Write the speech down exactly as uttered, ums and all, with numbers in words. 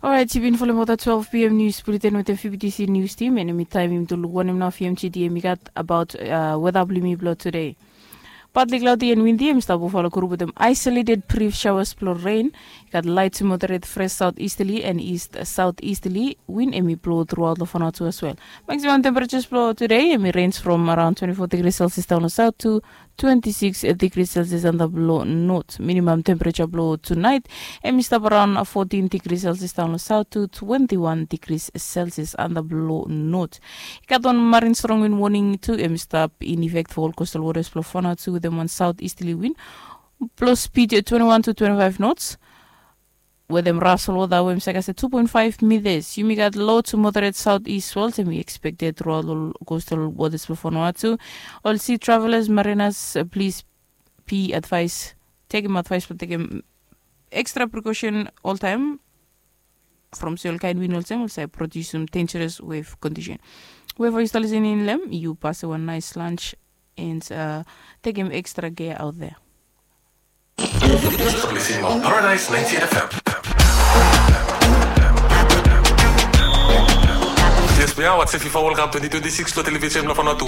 Orait, yu bin folem ol twelve p m nius buleten wetem F B T C nius tim, and hemi taem yumi tu luk wanem nao F M G T hemi gat abaot weta blong yumi blong tude. Partly cloudy and windy, hemi stap Buffalo group wetem isolated brief showers blong rain. I gat light to moderate fresh southeasterly and east southeasterly wind hemi blo truaot long Vanuatu as well. Maximum temperatures blong tude hemi range from around twenty-four degrees Celsius daon long south to twenty-six degrees Celsius antap long north. Minimum temperature blong tonight hemi stap around fourteen degrees Celsius daon long south to twenty-one degrees Celsius antap long north. I gat wan marine strong wind warning tu hemi stap in effect for all coastal waters blong Vanuatu wetem wan southeasterly wind blong speed twenty-one to twenty-five knots. Wetem rasel wota we hemi sake se two point five meters. Yumi gat low to moderate southeast swells hemi expected truaot long coastal waters blong Vanuatu. Ol sea travelers, mariners, please be advised, tekem advice blong tekem extra precaution oltaem from se ol kaen wind olsem ol save produsim dangerous wave condition. Whoever yu stap listening long hem, yu pasem wan nice lunch and tekem extra care out there. Yu stap listening long Paradise ninety-eight F M. Yes, we are watching FIFA World Cup twenty twenty-six lo television lo Vanuatu.